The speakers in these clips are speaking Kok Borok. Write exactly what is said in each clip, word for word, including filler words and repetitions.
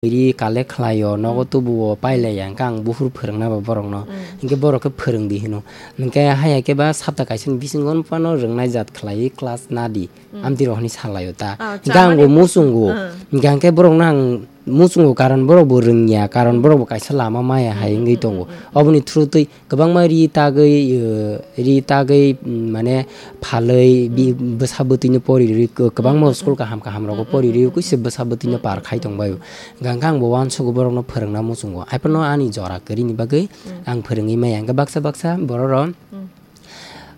ri collect khlaio, nogo tubuo pailaiya, hwnkhe ang buphuru phwrwngna ba borokno. Hwnkhe borok khe phwrwngdi hino. Hwnkhe haiya khe ba sapta kaisani bisingo phano rwngnai jat khlaiwi class nadi. Amtwi rok hwnwi salaio ta. Ah, hwnkhe ang bo chamani muchungo. Hwnkhe hwnkhe borokno ang muchungo, karon borok bo rwngya, karon borok bo kaisa lama maya hai wngwi tongo. Oboni through twi kwbangma ri tagwi, eh, ri tagwi, mm, mane phalwi bi-, bwsa bwtwino pori rwi, kwbangma school kaham kaham rogo pori rwi, kuisa bwsa bwtwino par khai tongbaio. Hwnkhe ang bo uansugo borokno phwrwngna muchungo. Haiphano ani jora kwrwini bagwi ang phwrwngwi maya. Hwnkhe baksa baksa bororok,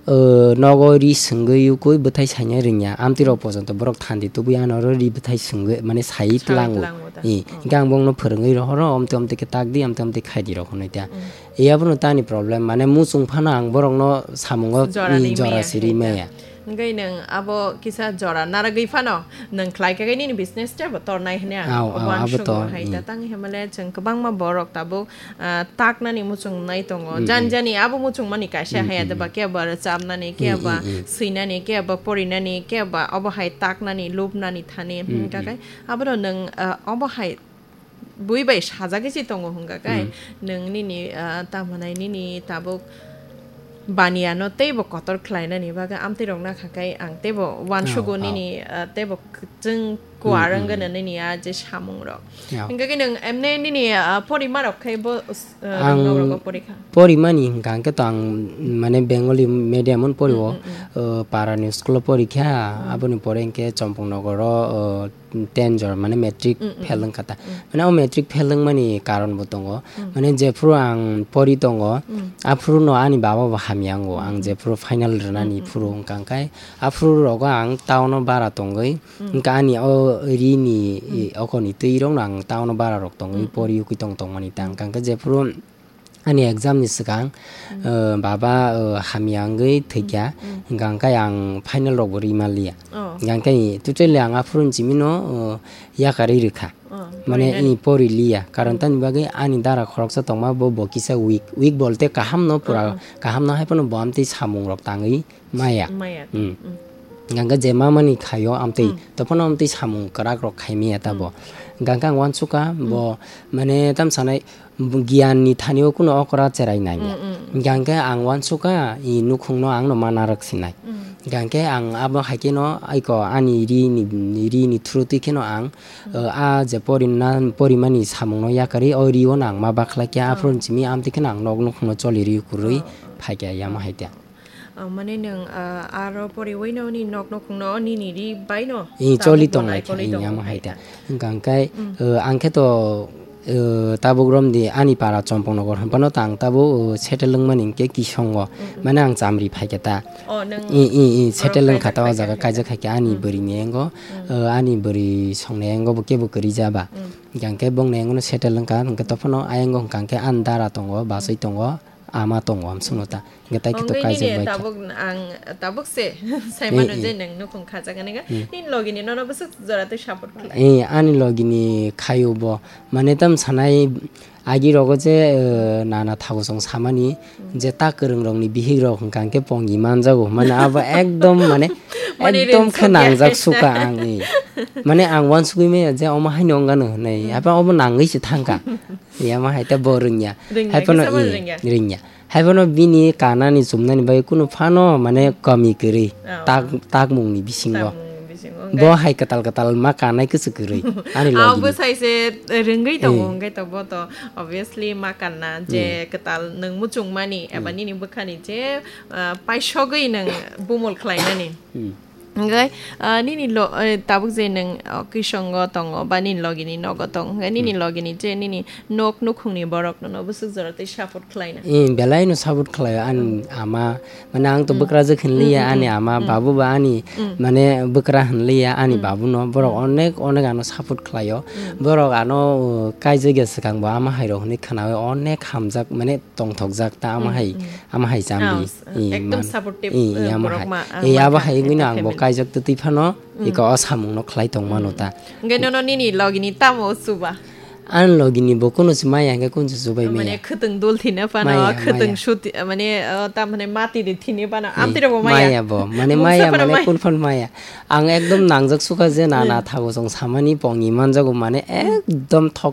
eh, nogo ri swngwi ukui bwthai saina rwngya. Amtwi rok pojonto borok thandi tubui ano oro ri bwthai swngwi, mane, sai tlango. Hwnkhe ang bongno phwrwngwi rohoro, omte omte khe takdi, amte omte khaidi rok hwnwi ta. Yabono tani problem, mane muchung phano ang borokno samungo jora siri maya. Hwnkhe nwng abo kisa jora naragwi phano nwng khlai khe nini business tebo tornai hwnwi ang uansugo hai ta. Tang himale chwng kwbangma borok tabuk, ah, taknani muchung nai tongo. Jani jani abo muchung mani kaisa haya de ba, kebo aro chamnani, kebo swinani, kebo porinani, kebo obo hai taknani, lubnani thani. Hwnkhe abono nwng, ah, obo hai bui bai sajagwi se tongo hwnkha khe, nwng nini, ah, tamo nai nini tabuk baniya no teibo kotor khlainani bagwi amtwi rok nakha khe ang teibo uansugo nini, ah, teibo kwchwng kuar wngwi nini a je samung rok. Hwnkha khe nwng emne nini, ah, porima rok khe bo, ah, ang rok bo porikha. Porimani hwnkha hwnkhe to ang mane Bengali medium on pori o, ah, para ni school o porikha, aboni pore hwnkhe Chompong Nogor o, ah, ten jora, mane, matric fail wngkha ta. Mane, o matric fail wngmani karon bo tongo. Mane, jephuru ang pori tongo, aphuru no ani baba bo hamya wngo. Ang jephuru final rwnani phuru wngkha, hwnkhe aphuru rogo ang town o bara tongwi, wngkha ani o ri ni, i, okoni twi rok no ang town o bara rok tongwi pori ukui tong tongmani ta. Wngkha, hwnkhe jephuru ani exam ni swkang, eh, baba, eh, hamya wngwi thwikha, hwnkha hwnkhe ang final rok bo ri manliya. Hwnkha hwnkhe totally ang aphuru ni simi no, eh, yakarwi rwkha. Mane, i pori liya, karon tamni bagwi ani dara khoroksa tongma bo, bo kisa weak, weak bolte kaham no, pura kaham no, hai phano bo amtwi samung rok tangwi maya. Hwnkha hwnkhe je mamani khaio amtwi, tophano amtwi samung kwrak rok khai maya tabo. Hwnkha hwnkhe ang uansukha bo, mane, tam sanai, giyan ni thani o kuno okra cherai nangya. Hwnkha hwnkhe ang uansukha, i nukhung no ang no ma narwk sinai. Hwnkha hwnkhe ang abo hai kheno aiko ani ri ni, ri ni through twi kheno ang, uh, a je porina, porimani samung no yakarwi o ri o no ang ma bakhlai kha, aphuru ni simi amtwi kheno ang nok nukhung no choli ri kwrwi phaikha yama hai ta. Ah, mane nwng, ah, aro poriwi no ni nok nukhung no nini ri bai no choli tonglai kha, yama hai ta. Hwnkha hwnkhe, uh, ang khe to, uh, tabuk romdi ani para Chompong Nogor hwnphano tang tabuk, uh, settle wngmani hwnkhe Kisongo. Mane ang chamri phaikha ta. I, i, i, settle wngkha ta o jaga kaijak khaikha ani bwrwi ni engo, uh, ani bwrwi song ni engo bo kebo kwrwi jaba. Hwnkha hwnkhe bong ni engo no settle wngkha, hwnkhe tophano ayang o hwnkha hwnkhe ani dara tongo, bachwi tongo. Ama tongo amsukno ta. Hwnkhe tai khe to kaijak bai kha. Tabuk ang, tabuk se saimano je nwng nukhung khajak ani ga. Nini logi ni nono bwswk jora tei support khlai. Eh, ani logi ni khaio bo. Mane tam sanai agi rogo je, eh, nana thago song samani je ta kwrwng rok ni bihik rok hwnkha hwnkhe pongi manjago. Mane abo ekdom mane ekdom khe nangjak suka ang, eh. Mane ang uansugui maya je omo haino wngano hwnwi. Apa obo nangwi se thangkha. Yama hai ta bo rwngya. Rwngya, haiphano kisa bo i, rwngya. Rwngya. Haiphano bini kanani chumnani bai kunu phano mane kami kwrwi. Oh. Tak, takmungni bisingo. Takmungni bisingo, bo wngkha hai kwtal kwtal ma kanai kwchwk kwrwi. Ani logi. Abo sai se rwngwi tongo, eh, hwnkhe to bo to obviously ma kanna je kwtal nwng muchungmani eba nini bwkhani je, ah, paisogwi nwng bumul khlainani. Hmm. Hwnkhe, ah, nini lo-, eh, tabuk je nwng, oh, Kisongo tongo ba nini logini nogo tongo, hwnkhe nini logini je nini nok nukhungni borok nono bwswk jora tei support khlaina? Eh, belai no support khlaio ani ama, mane ang to bwkrajwk hinliya ani ama, babu ba ani, mane bwkra hinliya ani babu no, borok onek onek ano support khlaio. Borok ano, uh, kaijak ya swkang bo ama hai rok hinwi khwnawi onek hamjak, mane tongthokjak ta ama hai, ama hai chamdi. Ekdom supportive, eh, borok ma, eh, abo hai wngwi no ang bo kaijak twtwi phano iko o samung no khlai tong mano ta. Hwnkhe nono nini logini tamo chuba? Ani logi ni bo kuno se maya hwnkhe kun se chubai maya. Mane khwtwng dul thina phano, maya, khwtwng maya. Sut, mane, uh, ta mane mati de thini phano, amtwi rok bo maya. Maya bo, mane maya, mane kun phano maya. Ang ekdom nangjak sukha je na, na thago chwng samani pongni manjago, mane ekdom thok